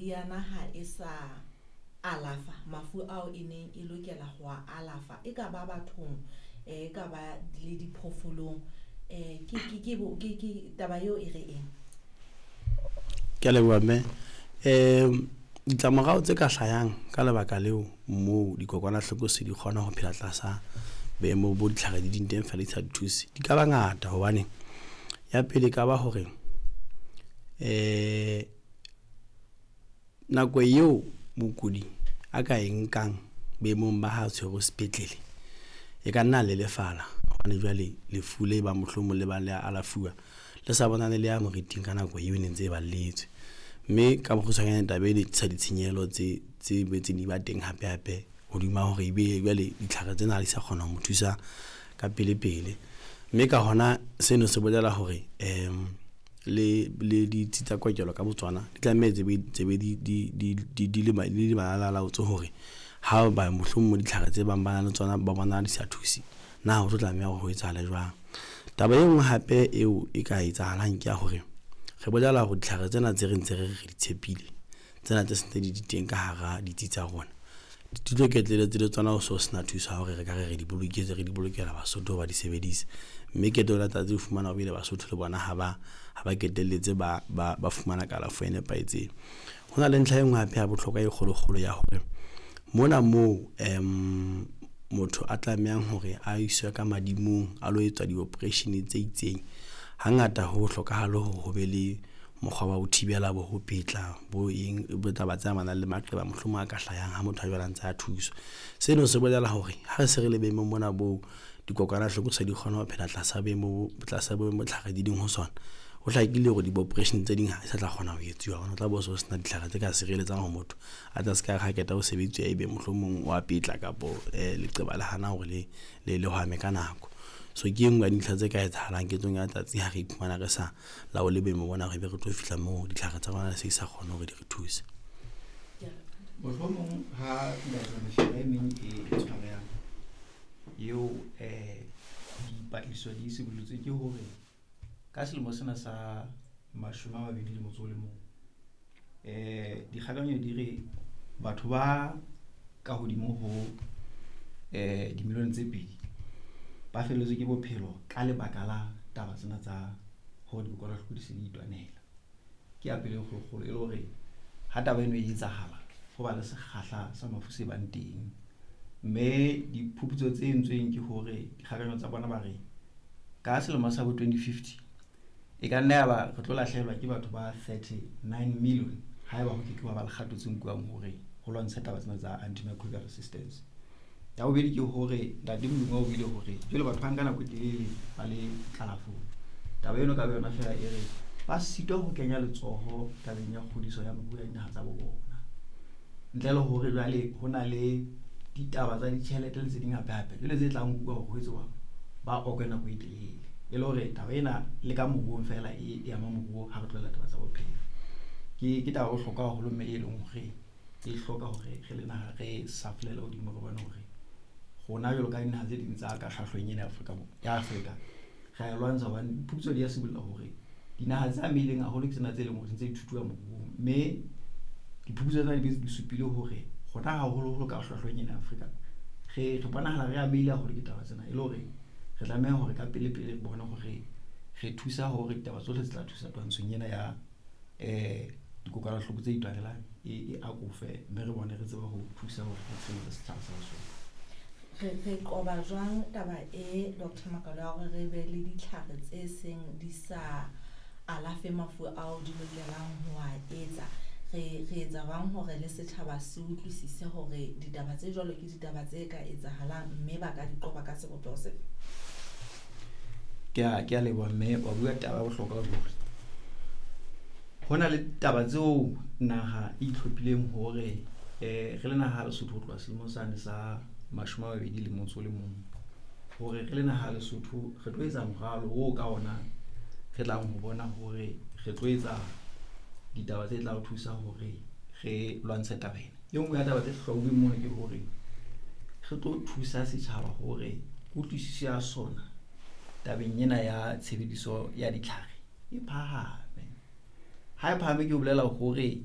Meriana ha e sa alafa mafu ao e neng e lokela ho a alafa, e ka ba bathong, e ka ba le diphoofolong. Ke taba eo e re eng? Ke a leboha mme. Ditlamorao tse ka hlayang ka lebaka leo moo dikokwanahloko se di kgona ho phela tlasa boemo bo ditlhare di ding teng fela di sa di thuse, di ka ba ngata. Hobane ya pele e ka ba hore nako eo mokudi a ka e nkang boemong ba ha tshwerwe sepetlele, e ka nna lelefala. Hobane jwale lefu le bang mohlomong le bang le a alafuwa le sa bonane le ya moriting ka nako eo e ne ntse e balletswe. Mme ka bokgutshwanyane taba eno e tlisa ditshenyehelo tse boetseng di ba teng hape hape hodima hore ebe jwale ditlhare tsena ha di sa kgona ho mo thusa ka pele pele. Mme ka hona seno se bolela hore le ditsi tsa kokelo ka botsona di tlameha tse be di le malalalaotswe hore ha ba mohlomong ditlhare tse bang ba na le tsona ba bona di sa thuse, na ho tlo tlameha hore ho etsahale jwang. Taba e nngwe hape eo e ka etsahalang ke ya hore re bolela hore ditlhare tsena tse re ntse re re di tshepile, tsena tse sentse di di teng ka hara ditsi tsa rona, di tlo qetelletse le tsona ho so sena thuso ya hore re ka re re di boloketse, re di bolokela Basotho ba di sebedise. Mme qetellong ya letsatsi o fumana ebile Basotho le bona ha ba qetelletse ba fumana kalafo e nepahetseng. Ho na le ntlha e nngwe hape ya bohlokwa e kgolo-kgolo ya hore mona moo motho a tlamehang hore a iswe ka madimong a lo etswa di-operation tse itseng, hangata ho hlokahale hore ho be le mokgwa wa ho thibela bo ho petla bo eng bo taba tse amanang le maqeba mohlomong a ka hlayang ha motho a jwale a ntse a thuswa. Seno se bolela hore ha re se re le boemong bona boo dikokwanahloko se di kgona ho phela tlasa boemo tlasa boemo tlhare di leng ho sona, ho hlakile hore di-operation tse ding ha di sa tla kgona ho etsuwa hobane o tla bo so sena ditlhare tse ka sireletsang hore motho a tla se ka re ha qeta ho sebetsuwa ebe mohlomong wa petla kapo leqeba le hana hore le hwame ka nako. So ke e nngwe ya dintlha tse ka etsahalang ketsong ya letsatsi ha re iphumana re sa laole boemo bona, re be re tlo fihla moo ditlhare tsa rona se di sa kgone hore di re thuse. Mohlomong ha nka etsa mehlala e meng e tshwarehang eo dipatlisiso di sibollotswe ke hore ka selemo sena sa 2021, dikgakanyo di re batho ba ka hodimo ho dimilione tse 2 ba felletswe ke bophelo ka lebaka la taba tsena tsa hore dikokwanahloko di se di itwanela. Ke ya pele e kgolokgolo e le hore ha taba eno e etsahala ho ba le sekgahla sa mafu se bang teng. Mme diphuputso tse entsweng ke hore dikgakanyo tsa bona ba re ka selemo sa bo 2050 e ka nna ya ba re tlo lahlehelwa ke batho ba 39 million haeba ho ke ke wa ba le kgato tse nkuwang hore ho lwantshe taba tsena tsa antimicrobial resistance. Ya bobedi ke hore ntate Modimo o buile hore jwale batho ba nka nako e telele ba le kalafong. Taba eno ka yona fela e re ba sitwa ho kenya letsoho tabeng ya kgodiso ya moruo ya dinaha tsa bo bona. Ntle le hore jwale ho na le ditaba tsa ditjhelete le tse ding hape hape jwale tse tlang nkuwa hore ho etsuwa ba okwe nako e telele. E le hore taba ena le ka moruong fela e ama moruo ha re tlohella taba tsa bophelo. Ke taba e bohlokwa haholo mme e leng hore e hloka hore re le naha re safolele hodimo re bone hore rona jwalo ka dinaha tse ding tsa ka hlahlong ena ya Afrika ya Afrika re a e lwantsha hobane diphuputso di a sibolla hore dinaha tse amehileng haholo ke tsena tse leng hore di ntse di thuthuha moruong. Mme diphuputso tsena di di supile hore rona haholoholo ka hlwahlweng ena ya Afrika re bonahala re amehile haholo ke taba tsena, e le hore re tlameha hore ka pele pele re bone hore re thusa hore ditaba tsohle tse tla thusa twantshong ena ya dikokwanahloko tse itwanelang e akofe, mme re bone re tsebe ho thusa hore re tshireletse setjhaba sa Basotho. Re qoba jwang taba e Dr. Makalo ya hore re be le ditlhare tse seng di sa alafe mafu ao di lokelang ho a etsa? Re etsa jwang hore le setjhaba se utlwisise hore ditaba tse jwalo ke ditaba tse ka etsahalang mme ba ka di qoba ka sebopeho sefe? Ke a leboha mme wa bua taba ya bohlokwa ruri. Ho na le taba tseo naha e itlhophileng hore re le naha ya Lesotho ho tloha selemong sane sa 2021, hore re le naha ya Lesotho re tlo etsa moralo oo ka ona re tlang ho bona hore re tlo etsa ditaba tse tla re thusa hore re lwantshe taba ena. E nngwe ya taba tse hlwauweng mono ke hore re tlo thusa setjhaba hore kutlwisiso ya sona tabeng ena ya tshebediso ya ditlhare e phahame. Ha e phahame ke ho bolela hore